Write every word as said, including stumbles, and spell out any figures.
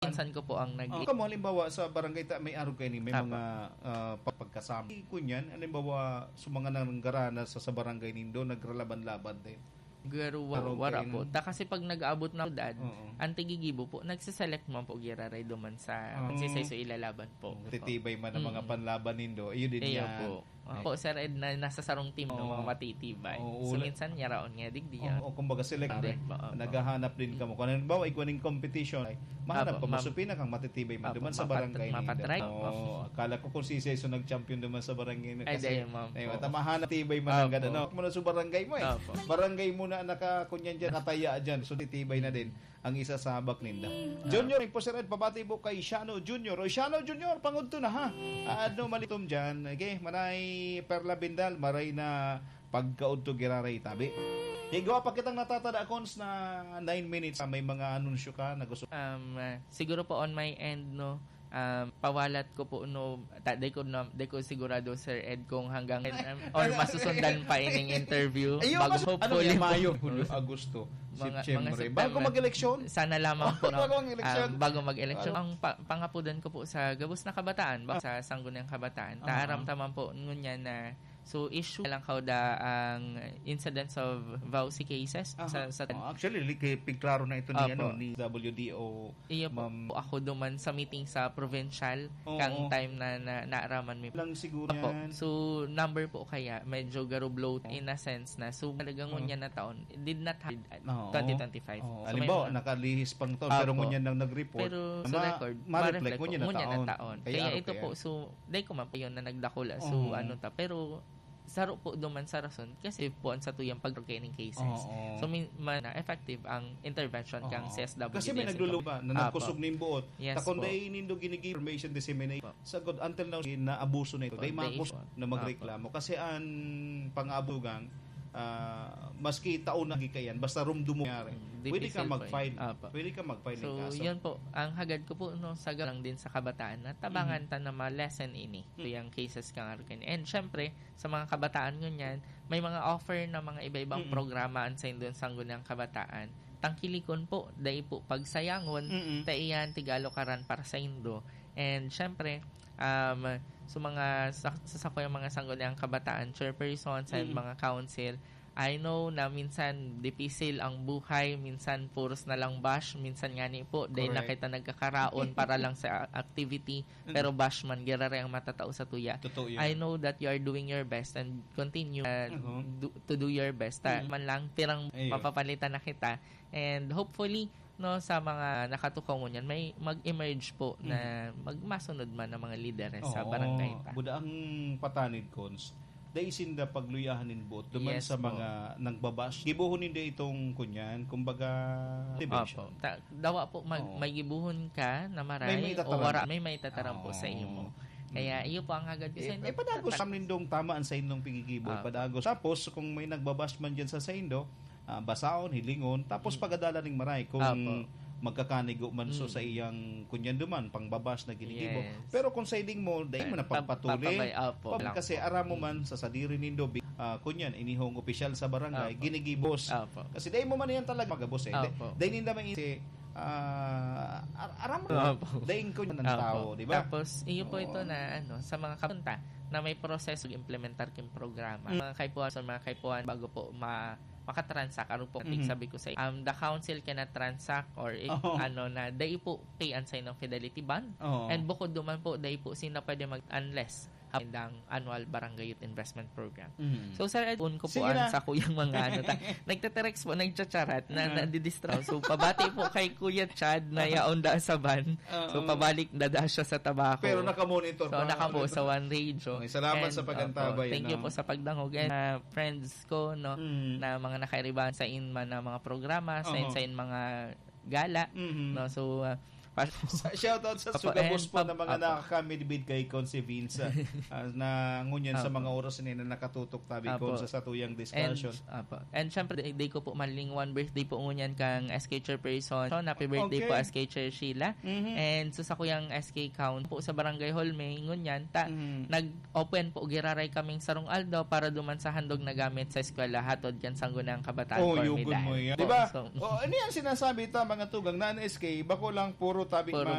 Minsan ko po ang nag- Oh, kamo, halimbawa, sa barangay ta-, may arog kayo ni, may Apo. mga, ah, pag-, pagkasama. Kunyan, halimbawa, sa mga nanggarana sa, sa barangay nindo, nagralaban-laban din. Garo, wa-, Arog wara kayo po. ng Ta, kasi pag nag-aabot na syudad, Oo. ang tigigibo po, nagsiselect man po giraray duman sa Ah. magsisay-so ilalaban po. Titibay man ang mga Mm. panlaban nindo. Iyo din Iyo yan. po. Ay. Opo, Sir Ed, na nasa sarong team, no, Oo. mga matitibay. Oo, So, uli- minsan, yaraon nga, digdi yan. Oo, kumbaga, select Correct din. po, opo. Naghahanap din kamo. Kung halimbawa, igwa ning competition, ay, mahanap Apo, kamo ma'am. sa pinakang matitibay man Apo, duman sa mapat-, barangay nindo. mapatry. Oo, akala ko kung si Seso nag-champion duman sa barangay nindo. Ay, Kasi, dahil, ma'am, ay, po. mata-, mahanap tibay man ang Apo. gano'n, no? Kung sa barangay mo, eh. Apo. Barangay mo na naka-, kunyan dyan, kataya dyan. So, titibay na din ang isasabak ninda. Junior, po, Sir Ed, pabati po kay Shano Junior. O, Shano Junior, pangudto na, ha? Ah, ano, malitom dyan. Okay, maray Perla Bindal, maray na pagkaudto giraray tabi. Igwa pa kitang natatada, Cons, na nine minutes. Ah, may mga anunsyo ka na gusto Um, ah, siguro po on my end, no, um, pawalat ko po, no, ta-, di ko na, di ko sigurado, Sir Ed, kung hanggang, um, or masusundan pa ining interview. Ayun, Bago mas-, ano hopefully yan, Mayo, po. Hulyo, Agosto, Mga, Setyembre. mga September. Bago mag-eleksyon? Sana lamang po, no? Bago ang eleksyon? Ah, bago mag-eleksyon. Bago. Ang pa-, pangapudan ko po sa gabos na kabataan, ba, Ah. sa Sangguniang Kabataan, Aha. taaram taman po ngunyan na, so, issue lang kauda ang incidence of vowsy cases Aha. sa, sa Oh, actually, li-, kay pigklaro na ito ni, Apo. ano, ni W D O, Iyo po, Ma'am. Ako duman sa meeting sa provincial, Oo. kang time na, na naaraman mi. Lang siguro Opo. yan. So, number po kaya, medyo garublo Oo. in a sense na. So, talagang Oo. ngunyan na taon, did not have Oo. twenty twenty-five. Oo. So, may Halimbawa, mga nakalihis pang taon, pero Opo. ngunyan lang nag-report. Pero sa Ma-, record, ma-reflect ma-reflect ngunyan po, na ngunyan na taon. taon. Kaya Kaya araw ito kaya. po, so, dai ko man pa yun na nagdakula. So, Oo. ano ta, pero saro po duman sa rason, kasi po ang satuyang pag-, tracking cases. Oo. So, min-, man, effective ang intervention kang Oo. C S W D S Kasi may naglulupa na Apo. nagkusog ning buot. Yes Ta kung po. dai nindo ginigi-, information disseminate, Apo. sa good, until now, naabuso na ito. Dai Dai maabos po. na magreklamo. Apo. Kasi ang pang-abugang, ah, maski taon na gikayan, basta rumdum mo nangyari. Mm, Pwede ka difficult po mag-file. yun. Apo. Pwede ka mag-file ng So, kaso. yun po. Ang hagad ko po, no, sa lang din sa kabataan na tabangan Mhm. ta na ma-lessen ini. Hmm. Yung cases kang Arkin. And syempre, sa mga kabataan ngunyan, may mga offer na mga iba-ibang Mm-mm. programa an saindong Sangguniang Kabataan. Tangkilikon po, dai po pagsayangon, Mm-mm. ta iyan tigalokaran para saindo. And syempre, um, sa mga sa-, sa sakuyang mga Sangguniang Kabataan, chairperson, sa Mm-mm. mga council, I know na minsan dipisil ang buhay, minsan puros na lang bash, minsan ngani po, dai na Correct. kita nagkakaraon para lang sa activity, Mm. pero bash man, giraray ang matatao sa tuya. Totoo yan. I know that you are doing your best and continue, uh, Uh-huh. do, to do your best. Ta, Mm. man lang, pirang Ayun. mapapalitan na kita. And hopefully, no, sa mga nakatukaw ngunyan, may mag-emerge po na Mm. magmasunod man ang mga lideres sa Oo. barangay ta. Buda ang patanid, Cons. Dai sinda pagluyahan nin buot duman Yes sa po. mga nagbabash. Gibohon ninda itong kunyan, kumbaga, motivation. Opo. Ta-, dawa po, mag-, Oo. may gibohon ka na maray May maitataram. o wara, may maitataram po sa Oo. imo. Kaya Mm. iyo po ang hagad ko sa Eh, inyo. eh, padagos Tatak- sa nindong tama ang sa inyong pigigibo, Opo. padagos. Tapos, kung may nagbabash man dyan sa saindo, ah, basaon, hilingon, tapos Mm. pagadalan ning maray kung Opo. magkakanigo man so Mm. sa iyang kunyan duman, pangbabash na ginigibo. Yes. Pero kung sa iling mo, dahil mo na Pap-, pagpatuli, papabay-, opo, pag-, lang kasi po. aram mo man Mm. sa sadiri nindo, bi-, ah, kunyan, inihong opisyal sa barangay, Opo. ginigibos. Opo. Kasi dahil mo man yan talaga magabos eh. Opo. Dahil ninda may isi-, ah, ar-, aram mo, Opo. dahil kunyan ng Opo. tao, di ba? Tapos, iyo po Oo. ito na, ano, sa mga kapunta na may proseso implementar king programa. Mm. Mga kaipuhan, sa mga kaipuhan, bago po ma-, makatransact, ano po, Mhm. sabi ko sa, um, the council cannot transact or i-, Oo. ano na, dai po pay an saindong Fidelity Bond. Oo. And bukod duman po, dai po sila pwede mag-, unless ang annual Barangay Youth Investment Program. Mhm. So, Sir Ed, un ko po Sige ang na. sa kuyang mga ano ta. Nagtetext po, nagchacharat na, Mhm. nadidistract. So, pabati po kay Kuya Chad na yaon da sa van. So, Oo. pabalik na da siya sa tabako. Pero nakamonitor So, pa. nakapo sa One Radio. Okay, salamat And, sa pag-antabay, opo, thank you ano? po sa pagdangog. And, ah, friends ko, no, Mm. na mga nakairiban sa in man na mga programa, sa in, Oho. sa in mga gala, Mhm. no? So, ah, pa- Sa, shoutout sa Opo, sugabos and po pab-, na mga opo. nakakamidbid kay Conce Vince, ah, ah, na ngunyan sa Opo. mga oras na yun na nakatutok tabi Opo. ko sa satuyang discussion. And, opo. And syempre, di, di ko po malingawan birthday po ngunyan kang S K Chairperson. So, happy birthday Okay. po, S K Chair Sheila. Mhm. And so, sa kuyang S K count po sa Barangay Hall, may ngunyan, ta, Mhm. nag- open po giraray kaming sarong aldaw para duman sa handog na gamit sa eskwela hatod kan Sangguniang Kabataan Oh, Formidal. yugon mo yan. Po, Di ba? so, Oh, ano yan sinasabi ta, mga tugang, na ang S K, bako lang puro Tabi Puro man.